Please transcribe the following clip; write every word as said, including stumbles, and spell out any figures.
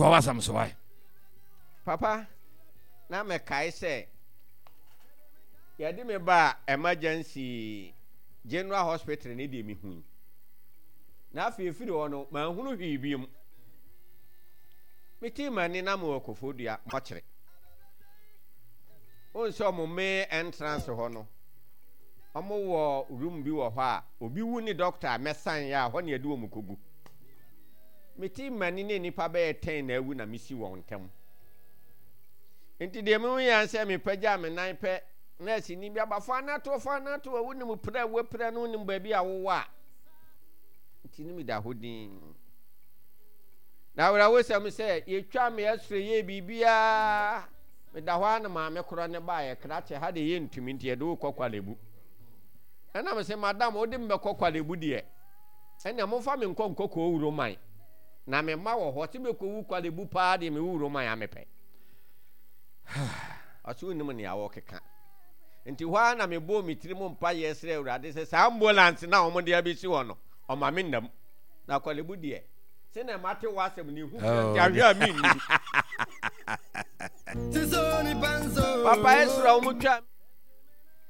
Toa w'asɛm so wae. Papa, na mekae sɛ yɛde me baa emergency general hospital ne deɛ mehui. Na afei ɛfiri hɔ no, manhunu hwee biom. Metee m'ani na mewɔ Koforidua mɔkyere. Wohu sɛ ɔmo main entrance hɔ no, ɔmo wɔ room bi wɔ hɔ a obi wu ne doctor a mɛsan yɛ a hɔ ne yɛde wɔn kɔgu. Metee m'ani ne nnipa bɛyɛ ten na awu na mesi wɔn ntam. Nti deɛ mehu yɛ sɛ mepagyaa me nan pɛ, nɛɛseni bi aba, fa no ato, fa no ato, wonim pira a wapira no, wonim baabi a wowɔ a. Nti ne meda hɔ din. Na awerɛhosɛm sɛ yɛtwa me x-ray yɛ biribiara, meda hɔ a na maame korɔ ne baeɛ, krakye ha deɛ yɛntumi nti yɛde wo kɔ Kwalebu. Ɛna me sɛ madam wode me bɛkɔ Kwalebu deɛ, ɛnna momfa me nkɔ nkɔ kɔɔ Roman na me mma wɔ hɔ, sɛ mɛkɔwu Kwalebu paa deɛ mewu Roman a mepɛ. Ɔsɛ wonim nea wɔkeka. Nti hɔ ara na mebɔɔ me tirim mpaeɛ srɛ Awurade sɛ saa ambulance no a wɔde abɛsi hɔ no, ɔma me nnam. Na Kwalebu deɛ, sɛnea mate w'asɛm no, ehu kura nti ahwɛ a mennim. Papa Esra wɔn twa